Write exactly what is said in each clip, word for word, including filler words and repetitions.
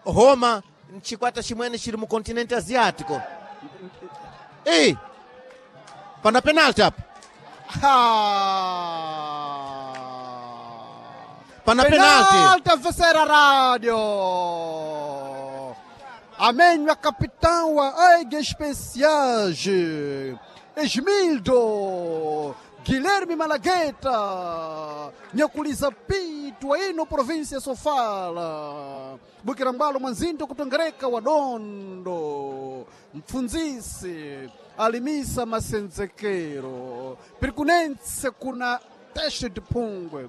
Roma nchikwata chimwene chili mu continente asiático. Ei, pana penalti apa. Ah. Pana penalti. Penalti avesera radio. Amenywa capitão wa Águia Especiais, Esmildo Guilherme Malagueta, nyakuliza pitu wa ino província Sofala, Bukirambalo Mwanzindo kutongereka wadondo, mpfunzisi alimisa masenzekero, pirikunense kuna teste de pungwe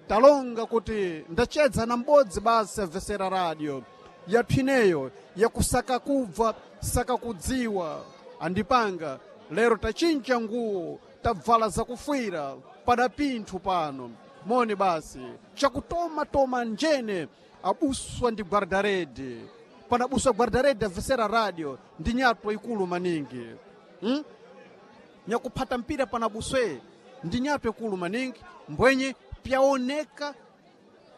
talonga kuti ndachedza na m'bodzi basi amvesera radio yaphineyo yakusaka kubva saka kudziwa andipanga lero tachinja nguwo tabvala zakufwira pada pinthu pano moni basi chakutomatoma njene abuswa ndi guardarede panabuswa guardarede amvesera radio ndi nyatwa ikulu maningi hmm? nyakuphata mpira panabuswe ndi nyatwa ikulu maningi mbwenye pyaoneka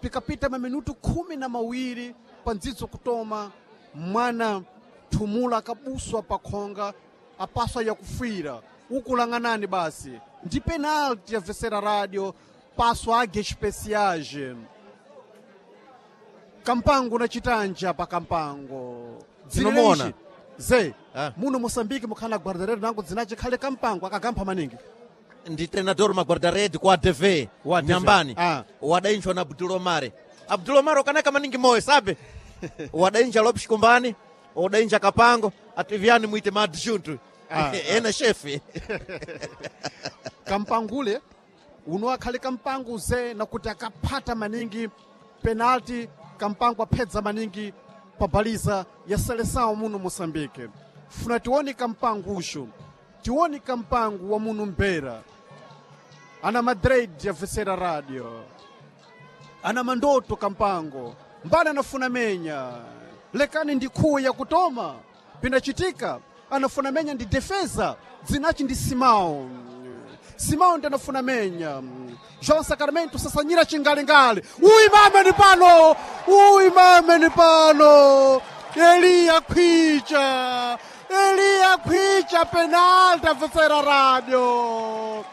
pikapita maminutu khumi na mawiri pandzidzo kutoma mwana thumula akabuswa pakhonga apaswa yakufira ukulang'anani basi ndi penalti yamvesera radio paswa age especiage kampango na chitanja pa kampango Tinomuona. Dzina ze Ah. muno moçambique mukhala guardarede nango dzinace khale kampango akagampha maningi Ndi treinador ma guardarede ku A D V Wa A D V. nyambani. Ah. Wadainjwa na Abdul Omar. Abdul Omar ukanaka maningi moyo sabe. Wadainja Lopes Kumbani, wadainja Kapango, ativiani mwite madjuntu. Ah, Ena chefe. kampangule uno akhale kampango ze nakuti akaphata maningi penalti kampango aphedza maningi pa baliza ya seleção muno moçambique. Funa tione kampango uxo, tione kampango wa muno mbera ana madrid yavesera radio ana mandoto kampango mbali anafuna menya lekani ndi khuwu yakutoma pinachitika anafuna menya ndi defesa dzinachi ndi Simão. Simão ndi anafuna menya João Sacramento sasanyira chingalingale uimame ni pano uimame ni pano Eliya Khwicha, Eliya Khwicha penalti avesera radio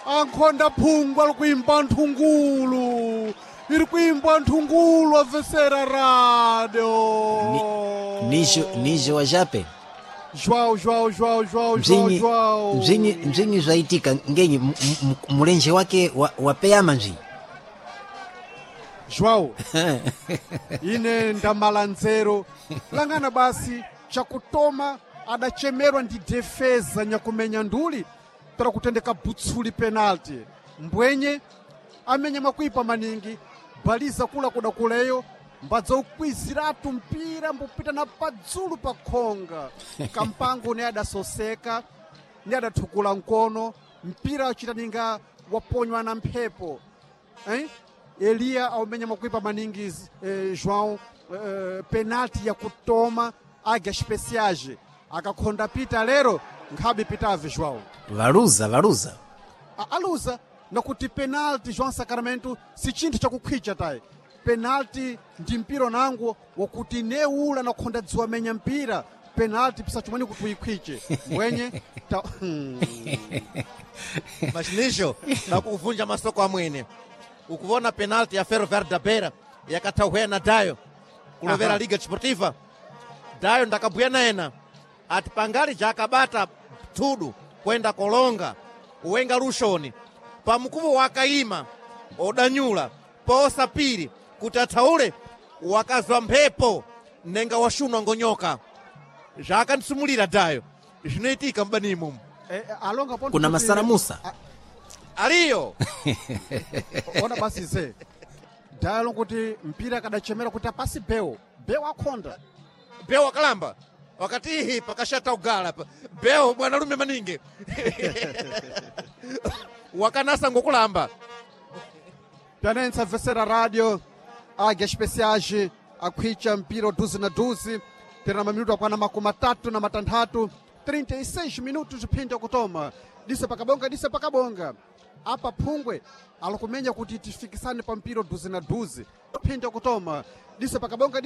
ankhonda phungu ali kuimba nthungulu iri kuimba nthungulu avesera radio. Nijo, nijo wa jape. João, João, João, João, João. Mzinyi João. mzinyi mzinyi zvaitika ngenyi m- m- mulenje wake wa- wapeyama mzinyi. João, ine ndamala nzeru langana basi chakutoma adachemerwa ndi defesa nyakumenya nduli tara kutendeka butsuli penalti mbwenye amenya makuipa maningi baliza kula kuda kuleyo mbadza ukwiziratu mpira mbupita na padzulu pa khonga kampango ne adasoseka ne adathukula mkono mpira uchitaninga waponywa na mphepo eh? Eliya aumenya makuipa maningi eh, João eh, penalti ya kutoma Águia Especiais akakhonda pita lero nkhabe pitave João. Valuza valuza. A- aluza nakuti penalti João Sacramento si chinthu chakukhwicha tayi penalti ndi mpira nango wakuti neula nakhonda dziwa menya mpira penalti pisachimwene kuti uyikhwiche mbwenye ta, hmm. Mas nijo nakuvunja masoko amwene ukuvona penalti ya Ferroviário da Beira yakatauhwea na Dayo kulovera Aha. Liga Desportiva Dayo ndakabhuya naena ati pangali jakabata thudu kwenda kolonga uwenga lushoni pamukuvo wakaima odanyula poosapiri kuti athaule wakazwa mphepo nenga washunwa ngonyoka zvakandisumulira Dayo zvinoitika mubani imomo. Eh, eh, alonga ponto Kuna kuti- masaramusa. Aliyo. Ona basi ze Dayo kuti mpira akadachemera kuti apasi beo beo akhonda. Beo wakalamba wakati ihi pakashata ugala pa beo bwanalume maningi wakanasa ngokulamba. Pianense avesera radio Águia Especiais akhwicha mpira duzi na duzi tena maminuto akwana makumi atatu na matanthatu trinta e seis minutos phinda kutoma dise pakabonga dise pakabonga apa phungwe alikumenya kuti tifikisane pa mpira duzi na duzi phinda kutoma dise pakabonga dise.